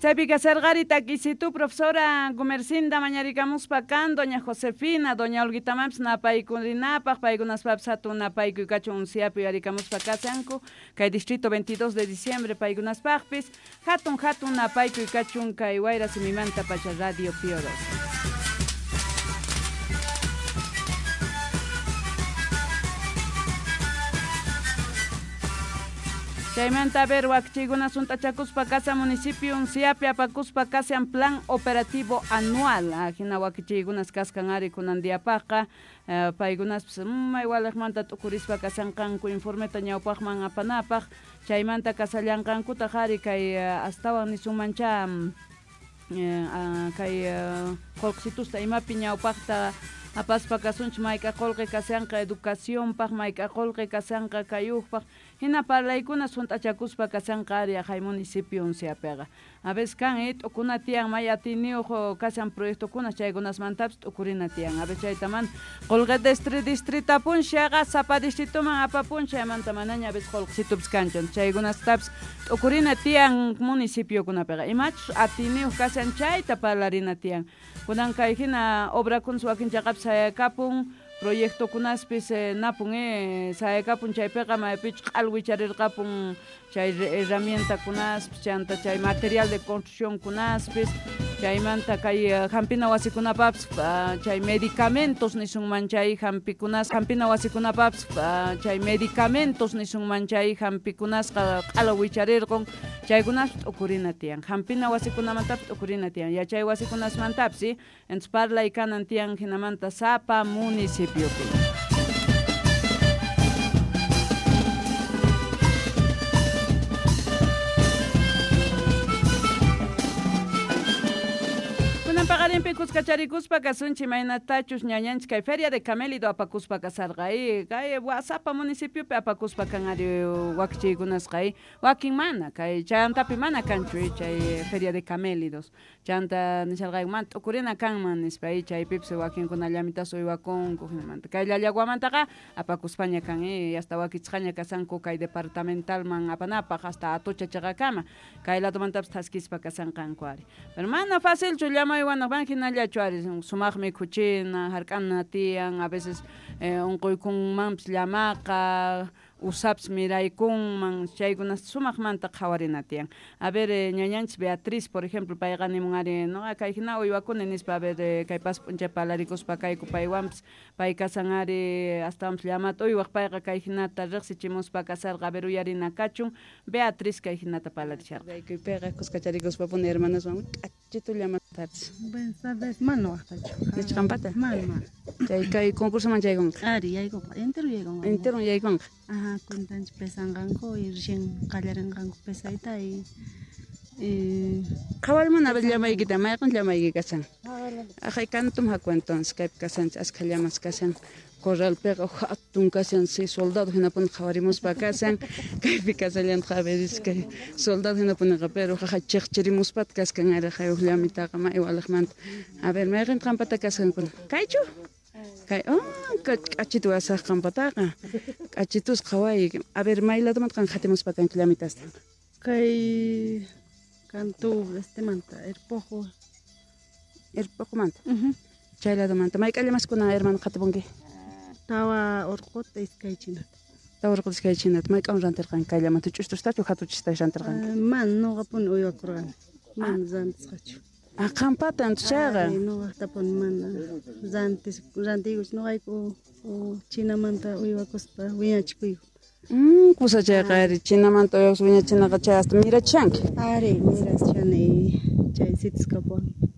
Chaypi kasarqari takisitu profesora Gumercinda mañarikamuspa kan doña Josefina, doña Olguitamampis napaykurinapaq, paykunaspapis hatun napaykuy kachun unsiapi uyarikamuspa kasanku, kay distrito 22 de diciembre paykunaspaqpis, hatun hatun napaykuy kachun kay Wayra Simimanta Pacha Radio Pío 12. Chaymanta a ver wakchikuna sunt'achakuspa kasa municipio Unciapi apakuspa kasan plan operativo anual ajina wakichiykunas kaskan ari kunan diapaqqa paykunaspis may waliqmanta t'ukurispa kasanqanku informeta ñawpaqman apanapaq chaymanta kasallanqankutaq ari kay astawan nisunmancha kay qullqisitusta imapi ñawpaqta apaspa kasunchik mayk'a qullqi kasanqa educacionpaq mayk'a qullqi kasanqa kayuqpaq hina parlaykuna sunt'achakuspa kasanqa ari aqhay municipio Unciapiqa. A veces kan t'ukuna tiyan may atiyniyuq kasan proyectokuna chaykunasmantapis t'ukurina tiyan. A veces chaytaman qullqi distritapun xaqa sapa distritoman apapun chaymanta manaña a veces qullqisitupis kanchu. Chaykunastapis t'ukurina tiyan municipiokunapiqa. Imachus atiyniyuq kasan chayta parlarina tiyan. Kunan kay hina obrakunas wakin chaqapis sayakapun proyectokunaspis napun sayakapun chaypiqa maypichus q'alwicharirqapun chay herramientakunaspis chanta chay material de construccionkunaspis chaymanta kay hampina wasikunapapis chay medicamentos nisunman chay hampikunas hampina wasikunapapis chay medicamentos nisunman chay hampikunasqa q'alwicharirqun chaykunaspis t'ukurina tiyan hampina wasikunamantapis t'ukurina tiyan yachay wasikunasmantapis entonces parlay kanan tiyan hinamanta sapa municipiopi. Paqarinpi kuskacharikuspa kasunchik imaynatachus ñañanchik kay feria de camélido apakuspa kasarqa kay sapa municipiopi apakuspa kan ari wakichiykunasqa wakin mana kay chantapi mana kanchu chay feria de camélidos chanta nisharqayku mana t'ukurina kanman nispa chaypipis wakinkuna llamitas uywakunku hinamanta kay llallaguamantaqa apakuspaña kan hasta wakichisqaña kasanku kay departamentalman apanapaq hasta Atocha chaqakama kay ladomantapis thaskispa kasanqanku ari pero mana facilchu llamaywanaq van hinallachu ari sumaqmi khuchina hark'ana tiyan a veces unquykunmanpis llamaqa usapis miraykunman chaykunas sumaqmanta qhawarina tiyan. A ver ñañanchis Beatriz por ejemplo payqa nimun ari noqa kay hina uywakuni nispa a ver kay pas p'unchay parlarikuspa kayku paywanpis pay kasan ari astawanpis llamata uywaq payqa kay hinata riqsichimuspa kasarqa a ver uyarina kachun Beatriz kay hinata parlarisharqa. Kaypiqa kuskacharikuspa hermanaswan k'achitu llamatapis. Buenas tardes, mana waqtachu. Nichqanpata? Mana. Chay kay concursoman chaykunqa. Ari yaykunqa, entero yaykunqa. Entero yaykunqa. Ajá, cuentanchik pesanqanku y recién qallarinqanku pesayta y qhawarmana a ver llamaykita, mayqin llamayki kasan. Ajay kantum haku entonces kaypi kasanchik askha llamas kasan. Corralpiqa hatun kasan si soldado hinapuni qhawarimuspa kasan kaypi kasallantaq a veces kay soldado hinapuniqa pero jaja chiqchirimuspata kaskan ari huk llamitaqa may waliqmanta. A ver mayqin qampata kasankuna kaychu? Kay k'achitu wasaq qampataqa k'achitus qhaway a ver may ladomanta qan qhatimuspa kanki llamitasta. Kay kantu estemanta Erpojo. Erpojomanta. Chay ladomanta mayk'a llamaskuna hermano qhatipunki? Tawa urquta iskay chinata. Tawa urquta iskay chinata mayk'awan rantirqanki kay llamanta ch'ustustachu hatuchista rantirqanki? Mana nuqapuni uywakurqani mana rantisqachu. Ah, qampata chayqa. Nuqaqtapuni mana rantiykuchu nuqayku chinamanta uywakuspa wiñachikuyku. Kusa chayqa ari chinamanta uywakuspa wiñachinaqa chay hasta mirachanki. Ari mirachani chay sitis kapuwan.